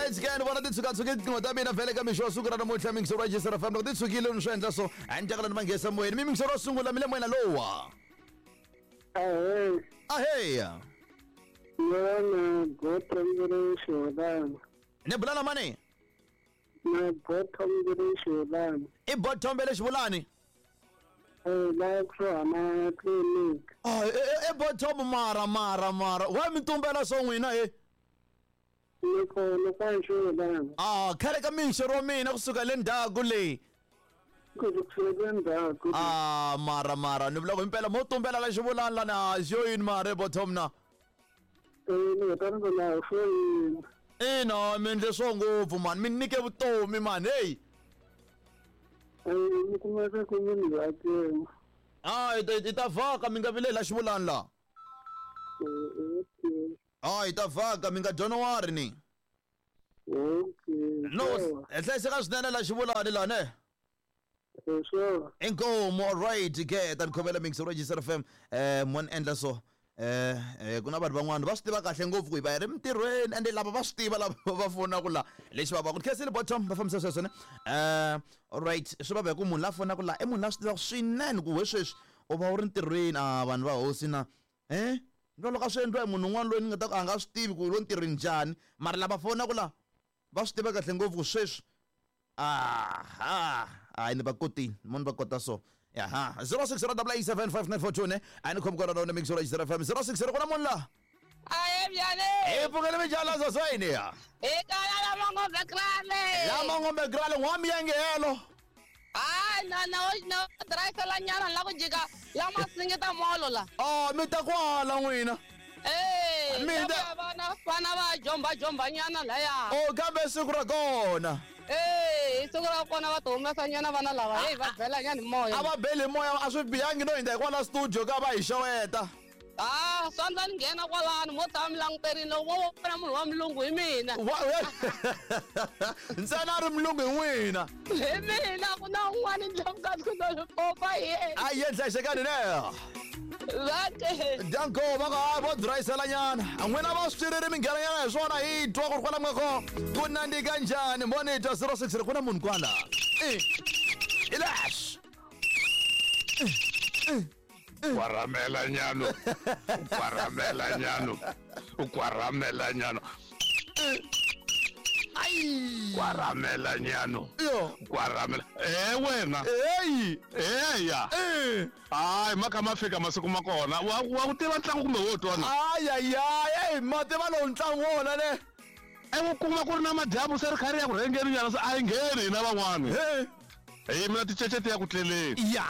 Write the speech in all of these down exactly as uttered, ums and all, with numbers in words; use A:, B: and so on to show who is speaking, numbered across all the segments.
A: Alright ke ni vona ti tshukatshuki tinqingho ta mina vhele ka mixo wa siku ra namuntlha mingisero wa Jisera F M loko ti tshukile ni swi endla so a ni tekela ni manghesa moyeni mi mingisero wo sungula mi le moyeni lowa.
B: Ahee.
A: Ahee.
B: Yona Bottom Xolani.
A: Ni bula na mani?
B: Na Bottom Xolani.
A: I Bottom Xolani?
B: Eh la kusuhana clinic.
A: Ah e Bottom mara mara mara. Wa mi tumbela so n'wina he?
B: Ni kona kwa Xolani.
A: Ah khale ka minxero wa mina kusuka le ndzhaku leyi.
B: Kusuka ndzhaku.
A: Ah mara mara ni vula ku impela mo tumbela la Xivulani la na xo yini mara Bottom na.
B: Eh ni ta ni la foyini.
A: Ina mi endle swo ngopfu mani mi nyike vutomi mani hey.
B: Eh ni kuma ku munhu wa tena.
A: Ah i ta vhaka mi nga vileli la Xivulani la.
B: Okay.
A: Ah i ta vhaka mi nga January ni.
B: Okay.
A: No hlayiseka swinene la Xivulani la ne.
B: Sure.
A: Inkomo alright ke ta ni khomela mix Register F M eh mon endla so. Eh eh kuna vanhu van'wana va swi tiva kahle ngopfu ku hi va hi ri mintirhweni ende lava va swi tiva lava va fonaka la lexi va va ku khensile Bottom va fambisa sweswo ne eh alright swi va ku munhu la fonaka la i munhu la swi tivaka swinene ku we sweswi u va u ri ntirhweni a vanhu va hosi na eh ndo loko a swi endliwa hi munhu un'wana loyi ni nga ta ku a nga swi tivi ku lo ntirhweni njhani mara lava fonaka la va swi tiva kahle ngopfu ku sweswi aha hayi ni va kotini moni va kota so. Aha zero six zero eight seven five nine four two ne ani khom kona na mix Register F M zero six zero kuna munhu la.
C: Aye byane.
A: E pfukele minjhani la swini ya.
C: E kala la mangombe grale.
A: La mangombe grale n'wami ya ngelo.
C: Ay na na na drive la nyana la ku jika la masingita molo la.
A: Oh mi ta kwala n'wina.
C: Eh
A: mina
C: vana vana va jomba jomba nyana laya.
A: Oh kambe siku ra kona.
C: Eh siku ra kona va humesa nyana vana lava hey va bela nyana moya.
A: A va beli moya a swi bihangi no hindza hi kwala studio ka va hi xeweta.
C: Ah swandla ni nghena kwalano mo tshama mi languterini loko wo vona munhu wa mulungu hi mina.
A: Ntsena a ri mulungu hi n'wina.
C: Hi mina ku na un'wana ndla ku na popa hi yena.
A: A yi hlayisekani ne.
C: Vake.
A: Danko va nga vo drayisela nyana. N'wina va swi tirhile mi nghena nyana hi swona hi twa ku ri kwala mi nga kona ku nandzika njhani moni twa zero six ku na munhu kwala. Eh. Ilash.
D: Kwaramela nyano. Kwaramela nyano. Kwaramela nyano.
A: Ai.
D: Kwaramela nyano.
A: Yo.
D: Kwaramela. Eh wena.
A: Hey.
D: Eh ya.
A: Eh.
D: Ai maka ma fika masiku ma kona. Wa wa ku tiva ntlangu kumbe wo twana.
A: Ai ai ai, ma tiva lowu ntlangu wona ne.
D: E ku kuma ku ri na madyambu se ri kha ri ya ku rhengeni nyana se a yi ngheni hina van'wana.
A: He.
D: Hi mina ticece ti ya ku tleleni.
A: Ya.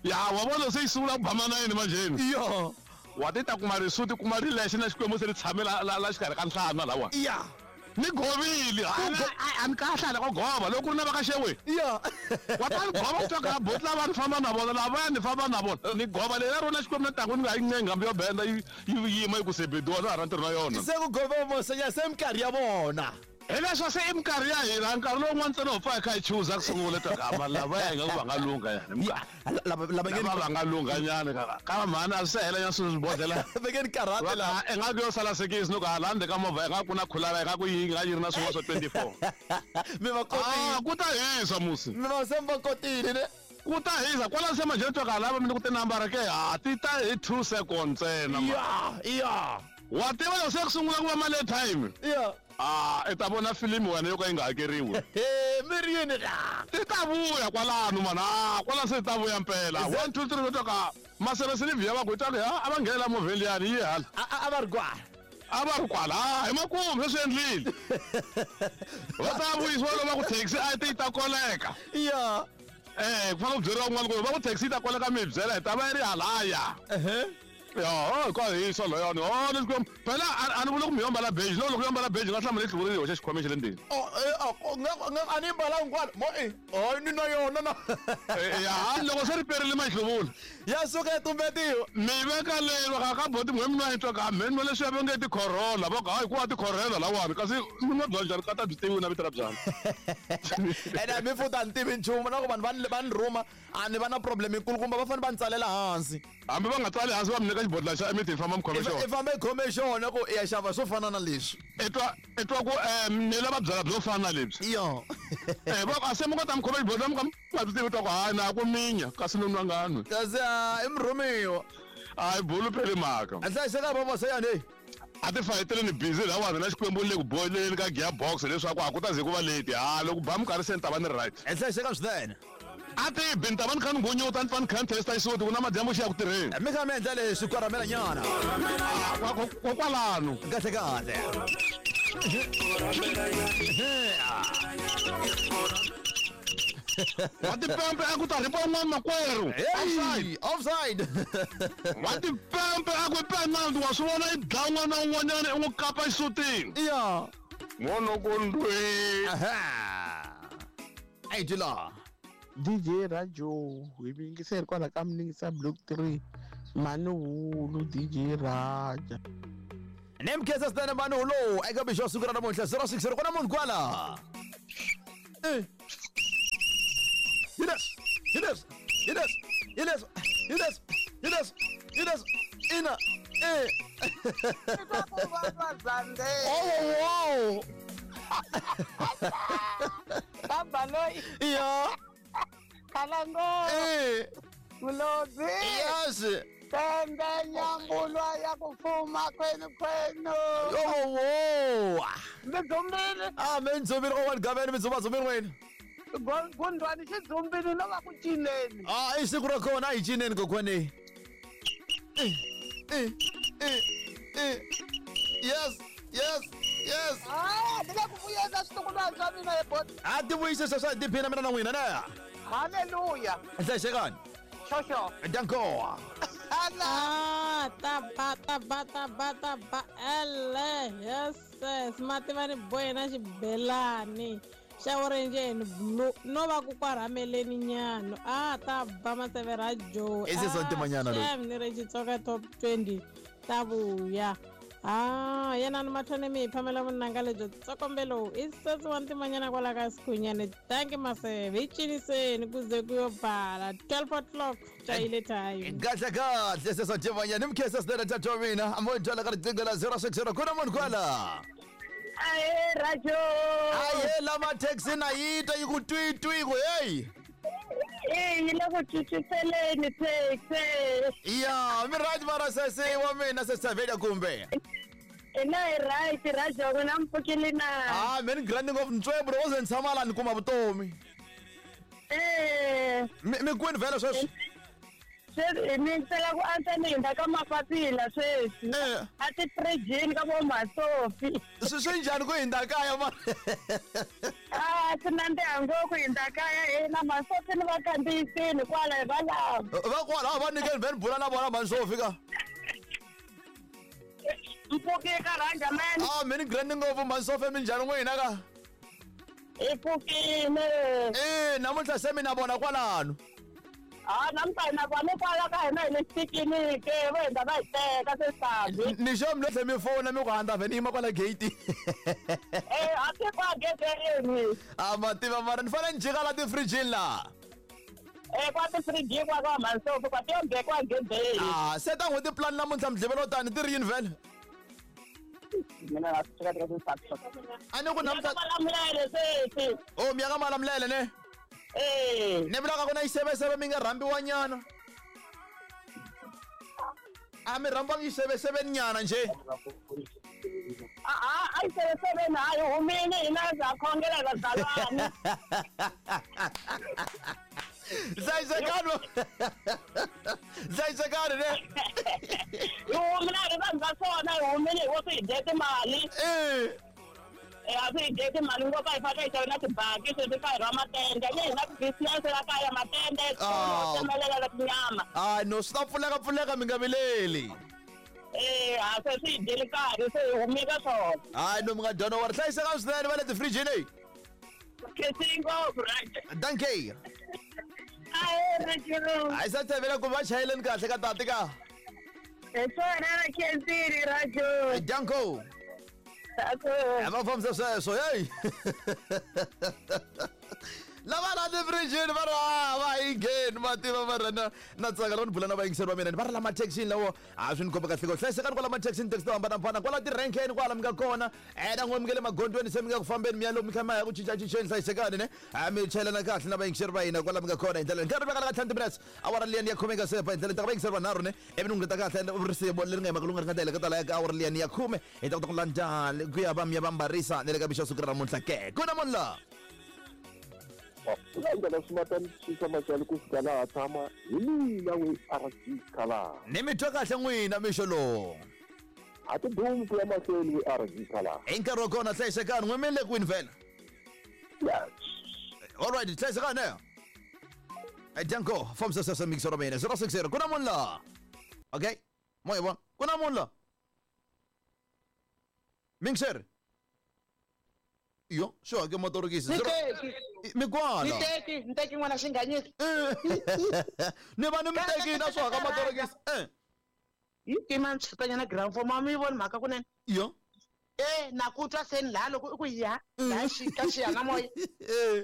D: Ya wa vona se yi sungula ku ba manayini manjheni.
A: Yo.
D: Wa ti ta kuma risuti kuma rilexe na Xikwembu se ri tshame la la xikarhi ka nhlana lawa.
A: Ya.
D: Ni govile a ni kahle hala ko gova loko ku ri na va ka xewe.
A: Ya.
D: Wa ta ni gova ku twa ka boti lava ni famba na vona lava ni famba na vona ni gova leri ra rona Xikwembu na ntangu ni nga yi ncengi hambi yo benda yi yima yi ku sebediwa na ha ra ntirho na yona.
A: Se ku gova mosenya se minkarhi ya vona.
D: Hi leswo se i minkarhi ya hina nkarhi lowun'wana ntsena ho pfa hi kha hi chuza ku sungula ta ka lava ya nga ku va nga lungha yani.
A: Lava lava
D: lava va nga lungha nyana ka ka mhani a swi se hela nyana swilo swibodlela.
A: Vekeni karate la.
D: I nga ku yo sala sekisi no ka hala ndzeni ka movha i nga ku na khulava i nga ku yi nga yi ri na swin'wana swa twenty-four.
A: Mi va kotile.
D: Ah ku ta hisa musi.
A: Mi va se mi va kotile ne.
D: Ku ta hisa kwala se manjheni twa ka lava mi ku tinambara ke ha ti ta hi two seconds ntsena.
A: Ya ya.
D: Wa tiva loko se ku sungula ku va mali time.
A: Ya.
D: Ah i ta vona filimi wena yo ka yi nga hakeriwi.
A: He mi ri yini la.
D: Ti ta vuya kwalano mana ah kwala se ta vuya mpela. one two three to ka maseve ya va ku twa ha a va nghena movheni liyani yi hala.
A: A va ri kwala.
D: A va ri kwala hi makumu se swi endlile. Va ta vuyisiwa loko va ku taxi a ti ta koleka.
A: Ya.
D: Eh ku fanele ku byeriwa un'wana ku va ku taxi yi ta koleka mi hi byela hi ta va yi ri halaya.
A: Ehe.
D: Ya oh ka hisa layani oh ni Xikwembu phela a ni vuli ku mi yo mbala beji loko loko yo mbala beji nga hlamula yi hluvuriwe hoxa xikhwameni xa le ndzeni.
A: Oh a ni mbalanga kwala mo e hayi ni na yona na
D: ya loko se ri perile mahluvula
A: ya suka ya tumbetiwa
D: mi veka lero ka ka boti n'we mina twa ka mhe nwa leswi va nge tikhorola va ku hayi ku wa tikhorela lawani kasi mi nwa bya njhani kata byi tivi na vito ra byana
A: ene mi futa ni tivi nchumu na ku vanhu va va ni rhuma a ni va na problem yikulukumba va fanele va ni tsalela hansi
D: hambi va nga tsali hansi va mi nyika xibodla xa emiti hi famba mi khome xona
A: i famba i khome xona ku i ya xava swo fana na leswi
D: i twa i twa ku um ni lava byala byo fana na lebyi
A: yo
D: eh va a se mi kota mi khome xibodla mi ka mi nga byi tivi twa ku hayi na ku minya kasi ni nwa nga nwi
A: kasi i murhumiwa
D: a yi bulu pheli mhaka
A: a hlayiseka vavasa yani
D: a ti fayetele ni busy lawani na xikwembu le ku boyeleni ka gearbox leswaku a ku ta ze ku va late ha loko ba minkarhi se ni ta va ni right
A: i hlayiseka swinene
D: a ti bi ni ta va ni kha ni nghunyuta ni pfa ni kha ni testa xisuti ku na madyambu xi ya ku tirheni
A: mi kha mi endla leswi kwaramela nyana
D: kokwalano
A: kahle kahle
D: wa tipempe a ku ta ripa un'wana makwerhu
A: offside offside
D: wa tipempe a ku penalty wa swi vona i dlaya un'wana na un'wanyana i n'wi kapa xisutini
A: ya
D: n'wanokondwe
A: a yi la
E: D J Rajo hi yingiseri kwala ka Mningisa Block three Manuhulu D J Raja
A: ni mkhensa swinene Manuhulu eka mixo siku ra namuntlha zero six zero ku na munhu kwala hi leswi hi leswi hi leswi hi leswi hi leswi hi leswi hi leswi ina e oh wow
C: Baba loyi
A: ya
C: Kalango
A: eh
C: Mulodzi
A: yes
C: Pembe nyambulwa ya ku fuma kwenu kwenu
A: oh wow
C: mi dzumbile
A: ah mi dzumbile kokwana Gaveni mi dzumba dzumbile wena
C: gundwani xi dzumbile no va ku cineni
A: ah i siku ra kona a hi cineni kokwani eh eh eh eh yes yes yes
C: ah ni le ku vuyela switukulwana swa mina hi boti
A: a ti vuyise sweswo hi tiphina mina na n'wina na
C: haleluya
A: hlayisekani
C: xoxo
A: danko
F: Ah, ta ba ta ba ta ba ta ba ele yes yes mativa ni boy na xibelani xa orange and blue no va ku kwarhameleni nyana ah ta ba Maseve Rajo
A: I sesi wa ntimanyana loyi.
F: ni ri Xitsonga top twenty ta vuya ah yena ni mathone mi hi phamela vunanga lebyo tsokombelo i sesi wa ntimanyana kwala ka Sikhunyane thank you Maseve hi ciniseni ku ze ku yo bala twelve o'clock chayile time
A: kahle kahle sesi wa ntimanyana ni mkhensa swinene tata wa mina a mo twala ka riqingho la zero six zero ku na munhu kwala
C: ahe Rajo
A: aye lama taxi na yi twa yi ku twi twi ku heyi
C: e yi le ku cuciseleni taxi
A: ya mi right mara sesi wa mina sesi Tavela kumbe
C: ina hi right Rajo n'wina mi pfukile na
A: ah me ni grandi ngopfu ntswebro wo ze ni tshama la ni kuma vutomi
C: eh
A: mi mi kwini vhele sweswi
C: sweswi ni tsela ku antswa ni hindza ka mapapila sweswi
A: Eh.
C: a tifirijini ka vo Masofi
A: swi swi njhani ku hindza kaya ma
C: a swi nandziha ngopfu hindza kaya hina Masofi ni va kandziyisini kwala hi va lava
A: va kwala a va nyikeni vhe ni bula na vona Masofi ka
C: mpfuki ka Ranja man
A: ah mi ni grandi ngopfu Masofi minjhani n'wina ka
C: hi pfukile
A: e namuntlha se mi na vona kwalano
C: a namuntlha hi na vona kwala ka hina hi le xipikiniki vo hindza va hi teka sesami
A: ni xo mi lo tlhe mi fona mi ku handza vhe ni yima kwala gate
C: e a ti kwa gedeni
A: a ma tiva mara ni fanele ni jika la tifirijini laha
C: e kwa tifirijini kwa ka Masofi kwa tiyo kwa gedeni
A: ah se ta n'hweti plan namuntlha midlivelo tani ti ri yini vhele
C: mina na swi teka
A: a ni ku namuntlha
C: Malamulele sweswi
A: o mi ya ka Malamulele ne
C: e
A: ni vulaka ku na xiseveseve mi nga rhambiwa nyana a mi rhambiwangi xiseveseveni nyana njhe
C: a a yi seveseveni a yi humile hina ha khongela hi vazalwana
A: hlayisekani hlayisekani ne
C: hi humile a ri vanhu va swona hi humile hi wo swi hi dye timali
A: e
C: e a swi hi dye timali ngopfu a hi fanele hi xave na tibaki sweswi ka hi ra matende ni hi na ti-business la kaya matende
A: Ah.
C: tsemelela na tinyama
A: a no swi ta pfuleka pfuleka mi nga vileli
C: e a se swi hi dyeli nkarhi se hi humile ka swona
A: hayi no mi nga dyona wa ri hlayisekani swinene va le tifirijini
C: Khensini ngopfu Rajo.
A: Dankie.
C: Ahe Rajo.
A: A sa tshevela ku va chayeleni kahle ka tati ka.
C: Hi swona na khensini Rajo.
A: Danko.
C: Ako.
A: A va fambisa sweswo hey. Lava la tifirijini va ri a va yi ngheni ma tiva va ri na na tsaka loko ni bula na vayingiseri va mina ni va ri la mathekisini lawo a swi ni komba kahle ko hlayisekani kwala mathekisini taxi to hambanahambana kwala tirenkeni kwala mi nga kona e na n'we mi nge le magondzweni se mi nga ku fambeni mi ya lomu mi kha mi ya ku cincacinceni hlayisekani ne a mi chayelana kahle na vayingiseri va hina kwala mi nga kona hi ndlela nkarhi vekala ka ntlhanu minutes awara liyani ya khume nga sepa hi ndlela ta ka vayingiseri vanharhu ne ivi ni n'wi kahle risivo leri nga yimaka lunga ri nga ta hela ka tala ya ka awara liyani ya khume hi ta kota ku landza ku ya va mi ya va mbarisa ni le ka mixo siku ra namuntlha ke ku na munhu laha
B: Landela swimatanisi machali ku fika laha tshama hi mina we R G Khala.
A: Ni mi twa kahle n'wina mixo lowu.
B: A ti dumi ku ya mahlweni we R G Khala.
A: Hi nkarhi wa kona hlayisekani n'we mi le kwini vhela?
B: Yes.
A: All right, hlayisekani eh. Danko, fambisa sweswo mixo ra mina zero six zero ku na munhu laha. Okay, mo hi vona ku na munhu laha. Mixer. Yo, sure, ke motorokisi. Mikwana.
E: Ni teki, ni teki n'wana xinganyisi.
A: Ni va ni mi teki na swo haka motorokisi. Eh.
E: Yi tima ntshutanyana ground form a mi voni mhaka kunene.
A: Yo.
E: Eh, na ku twa seni laha loko i ku ya, laha xi ka xiyanimoya.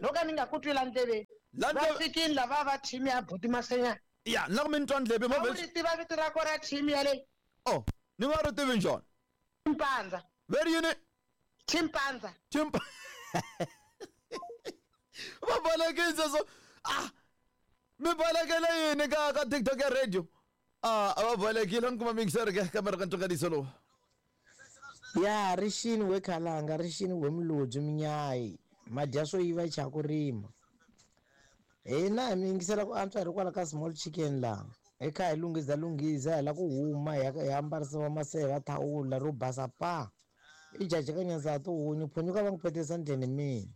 E: No ka ni nga ku twi la ndleveni. Va fikini lava va team ya Buti Masenyana.
A: Ya, na ku mi ni twa ndleve
E: mo. Ri tiva vito ra kona team ya leyi.
A: Oh, ni nga ri tivi njhani?
E: Chimpanza.
A: Veri yini?
E: Chimpanza.
A: Chimpa. Va balekisa so ah mi balekele yini ka ka TikTok ya radio ah a va balekile ni kuma mixer ke kamera ka ntsonganiso lowu
G: ya rixini we khalanga rixini we mulodzi minyayi madya swo yiva cha ku rima hina hi mi yingisela ku antswa hi ri kwala ka small chicken laha hi kha hi lunghiza lunghiza hi la ku huma hi hi ambarisiwa maseve thawula ro basa pa i jaji ka nyanza tihunyi phunyu ka va n'wi phetisa ndleni mina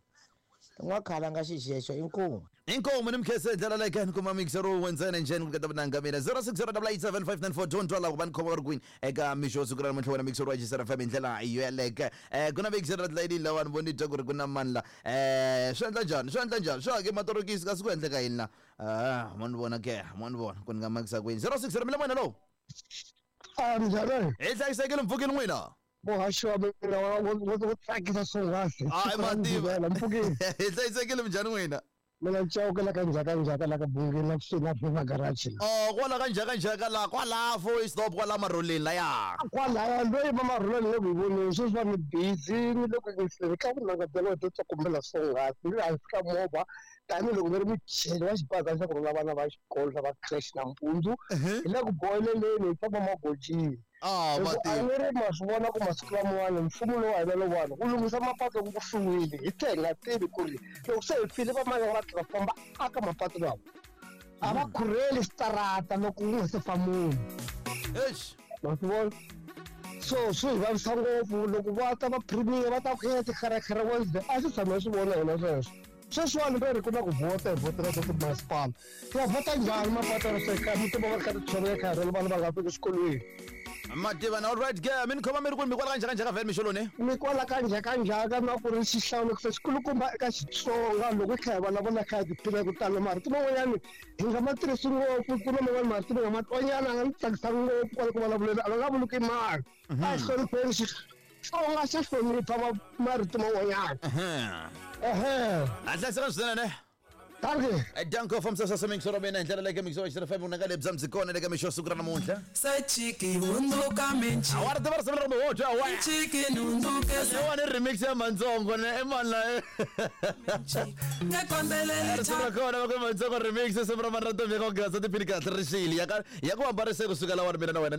G: n'wakhalanga xixexo inkomu
A: inkomu ni mkhese ndlela leyi ka ni kuma mixer wu ntsena njhani ku kata vunanga mina zero six zero eight seven five nine four don't twala ku va ni khoma va ri kwini eka mixo siku ra namuntlha wena mixer wa G S F M hi ndlela yo yeleke um ku na mixer ra tilayini lawa ni voni twa ku ri ku na mani la um swi endla njhani swi endla njhani swi hake matorokisi kasi ku endleka yini la a mo ni vona ke mo ni vona ku ni nga makisa kwini zero six zero mi le n'wina lowu
B: a njhani
A: hi hlayisekile mpfukini n'wina
B: muhaxi wa mina wo tsakisa swonghasi
A: hayi mativa hi hlayisekile minjhani n'wina
B: mina Chauke la ka ndzhaka ndzhaka la ka Bungeni la kusuhi na River Garage la
A: oh kwala ka ndzhaka ndzhaka la kwala fo stop kwala marholeni laya
B: kwalaya loyi va marholeni le ku hi voneni sweswi va ni busy ni le ku yingiseni ka vunanga bya wena byo tsokombela swonghasi ni le hansi ka movha tanihiloko ni ri mucheli wa xibaza xa ku rhwala vana va xikolo lava creche nampundzu hi le ku boheleleni hi famba magojini
A: Ah,
B: a ni ri ma swi vona ku masiku lamawani mfumo lowu wa hina lowuwani wu lunghisa mapatu loko ku fiwile hi tlhe hi nga tivi ku ri loko se hi file vamani va tlhela famba aka mapatu lawa a va khurheli xitarata loko ku nga se fa munhu
A: eish
B: ma swi vona so swi hi vavisa ngopfu loko va ta va premier va ta ku ya tikherekhere Wednesday a swi tshama hi swi vona hina sweswo sweswiwani ve ri ku na ku vhota hi vhotela swa timasipala ya vhota njhani mapatu ya sweka mi tiva va ri kha ti tshoveka kha rhwala vana va nga fiki exikolweni
A: mativa na all right ke mi ni khoma mi ri kwini mi kwala ka ndzhaka ndzhaka vhele mixoloni
B: mi kwala ka ndzhaka ndzhaka na ku ri xihlawulekise xikulukumba eka Xitsonga loko hi kha hi vulavula kha hi tiphina ku tala marito man'wanyani hi nga ma tirhisi ngopfu ku na man'wani marito mi nga ma twanyana a nga ni tsakisa ngopfu kwala ku vulavuleni a nga nga vuli mali a hi hlonipheni Xitsonga xa hlonipha marito man'wanyana ehe
A: a hlayiseka swinene ne
B: Dankie.
A: Danko from Sasa Mixer mina hi ndlela leyi ka Mixer wa F M unanga lebyi byi kona le ka mixo siku ra namuntlha
H: Sachiki hunduka minchi
A: a wa ri tiva risimu leri kumbe wo twa wa
H: Chiki nunduke
A: wani remix ya Mantsongo ne i mani la
H: Ngekombelele
A: risimu ra kona va ku Mantsongo remix risimu ra mani ra Ntombi ya ka Gaza tiphini kahle rixile ya ka ya ku hambarise kusuka lawani mina na wena